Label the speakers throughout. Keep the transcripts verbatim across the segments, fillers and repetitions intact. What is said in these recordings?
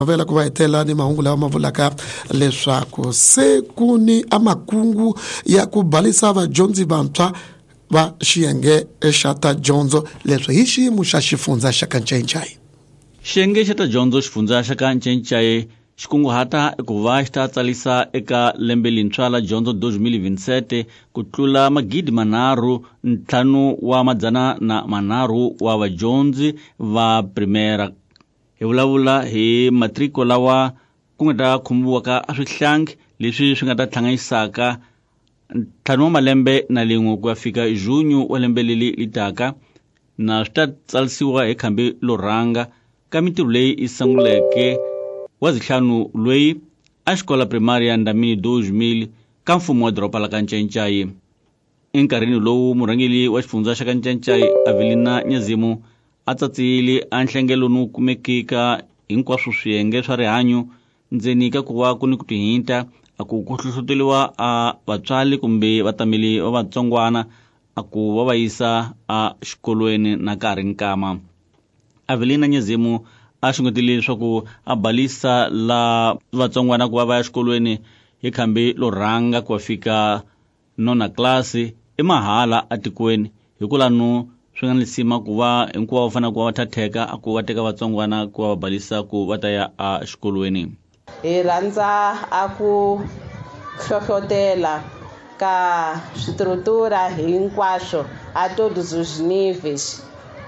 Speaker 1: Vela ku va hetela ni mahungu lawa ma vulaka leswaku se ku ni amakungu ya ku balisa vadyondzi vantshwa va xiyenge xa ta dyondzo leswi hi xiyimo xa xifundza xa Kanchenchai.
Speaker 2: Xiyenge xa ta dyondzo xifundza xa Kanchenchai xi kunguhata ku va xi ta tsalisa eka lembe lintshwa la dyondzo twenty twenty-seven ku tlula magidi manharhu ntlhanu wa madzana na manharhu wa vadyondzi va primera. Hi vulavula hi matriko lawa ku nga ta khumbiwaka a swihlangi leswi swi nga ta hlanganisaka ntlhanu wa malembe na lin'we ku ya fika junho wa lembe leri li taka, na swi ta tsalisiwa hi khambi lo rhanga ka mintirho leyi yi sunguleke wa zihlanu loyi a xikola primary ya Ndamini two mil ka mfumo wa doroba la Kanchenchai. Enkarhini lowu murhangeri wa xifundza xa Kanchenchai Avelina Nyazimu a tsatsile a nhlengelo no kumekeka hinkwaswo swiyenge swa rihanyo ndzeni ka ku va ku ni ku tihinta a ku ku hlohloteriwa a vatswari kumbe vatameli va vatsongwana a ku va va yisa a xikolweni na ka ha ri nkama. Avelina Nyazimu a xungetile leswaku a balisa la vatsongwana ku va va ya xikolweni hi khambi lo rhanga ku va fika nona klasi i mahala atikweni hikwalano swi nga ni lisima ku va hinkwavo va fanele ku va va thatheka a ku va teka vatsongwana ku va va balisa ku va ta ya a xikolweni.
Speaker 3: Hi rhandza a ku hlohlotela ka swiṱurutura hinkwaswo a todos os níveis,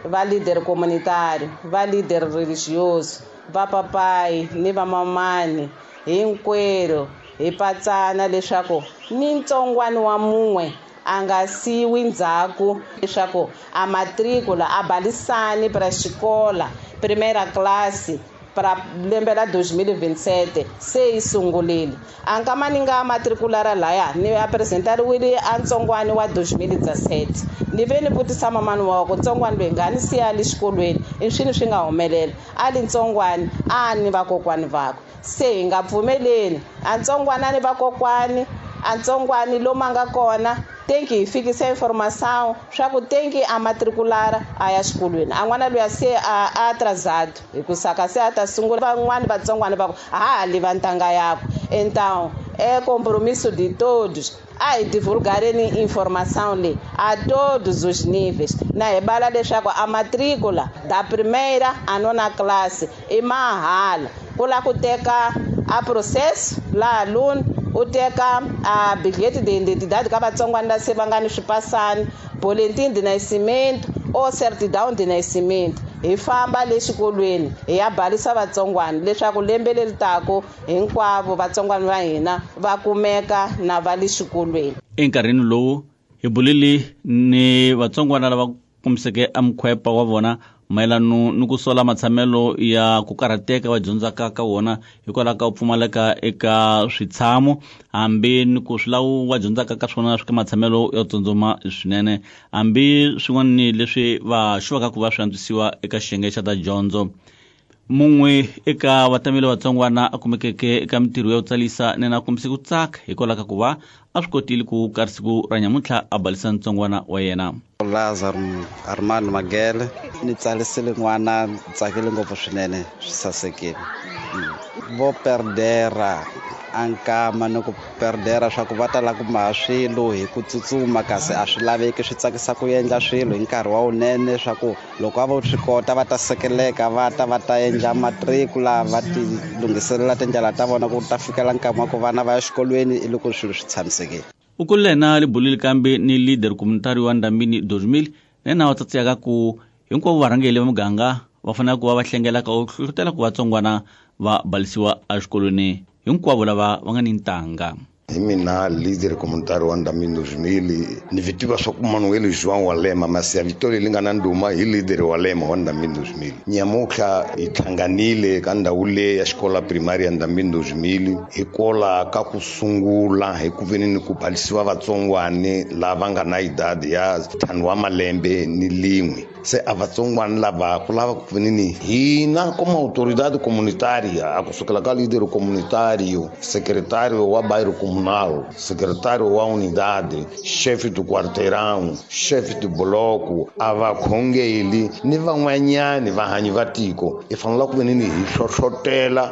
Speaker 3: va líder comunitário, va líder religioso, va papai ni va mamani hinkwerhu hi patsana leswaku ni ntsongwana wa mun'we a nga siwi ndzhaku leswaku a matricula a balisani para xikola primeira classe para lembe la dois mil e vinte e sete se yi sungurile. A nkama ni nga matriculara laya ni apresentariwile a ntsongwani wa dois mil e dezessete ni ve ni vutisa mamani wa ku ntsongwani loyi nga ni siya le xikolweni i swini swi nga humelela a li ntsongwani a ni vakokwani vakwe se hi nga pfumeleni a ntsongwani a ni vakokwani a ntsongwani lomu a nga kona tem que fikisa informação swa ku tem que a matriculara a ya xikolweni a n'wana luya se a atrasado hi ku saka se a ta sungula van'wani vatsongwana va ku a ha ha liva ntanga yakwe. Então é compromisso de todos a hi divulgareni informação leyi a todos os níveis na hi bala leswaku a matrícula da primeira a nona classe i mahala ku la ku teka a processo la aluno u teka a bilhete de identidade ka vatsongwana la se va nga ni swipasani boletim de nascimento ou certidão de nascimento hi famba le xikolweni hi ya balisa vatsongwana leswaku lembe leri taka hinkwavo vatsongwana va hina va kumeka na va le xikolweni.
Speaker 2: Enkarhini lowu hi bulile ni vatsongwana lava kumiseke a mukhwepa wa vona mayelano ni ku sola matshamelo ya ku karhateka va dyondzaka ka wona hikwalaho ka ku pfumaleka eka switshamo hambi ni ku swilawu va dyondzaka ka swona swi ka matshamelo yo tsundzuma swinene hambi swin'wana leswi va xuvaka ku va swi antswisiwa eka xiyenge xa ta dyondzo. Mun'we eka vatameli vatsongwana a kumekeke eka mintirho ya ku tsalisa nena a kombise ku tsaka hikwalaho ka ku va a swi kotile ku karhi siku ra nyamuntlha a balisa ntsongwana wa yena.
Speaker 4: Lazaro Armando Magele ni tsalisile n'wana ni tsakile ngopfu swinene swi sasekile. Vo perdera a nkama ni ku perdera swa ku va ta lava ku maha swilo hi ku tsutsuma kasi a swi laveki swi tsakisa ku endla swilo hi nkarhi wa wunene swa ku loko a vo swi kota va ta sekeleka va ta va ta endla matricula va ti lunghiselela tindlela ta vona ku ta fikela nkama wa ku vana va ya xikolweni i loko swilo swi tshamisekile.
Speaker 2: U kulile na libulile kambe ni leader communitary wa Ndambini dois mil nena wa tsatsiyaka ku hinkwavo varhangeri va muganga va fanele ku va va hlengela ka ku hlohlotela ku vatsongwana va balisiwa exikolweni hinkwavo lava va nga ni ntanga.
Speaker 5: Hi mina leader communitary wa Ndambini dois mil ni vitiva swa ku Manuel João wa Lema masi ya vito leri nga na ndhuma hi leader wa Lema wa Ndambini dois mil. Nyamuntlha hi hlanganile ka ndhawu leyi ya xikola primary ya Ndambini dois mil hi kola ka ku sungula hi ku veni ni ku balisiwa vatsongwani lava nga na idadi ya ntlhanu wa malembe ni lin'we. Se a vatsongwana lava ku lava ku nini hina como autoridade comunitária, a kusukela ka líder comunitário, secretário wa bairro comunal, secretário wa unidade, chefe do quarteirão, chefe do bloco, a vakhongeli ni van'wanyani vahanyi va tiko, hi fanele ku venini hi hlohlotela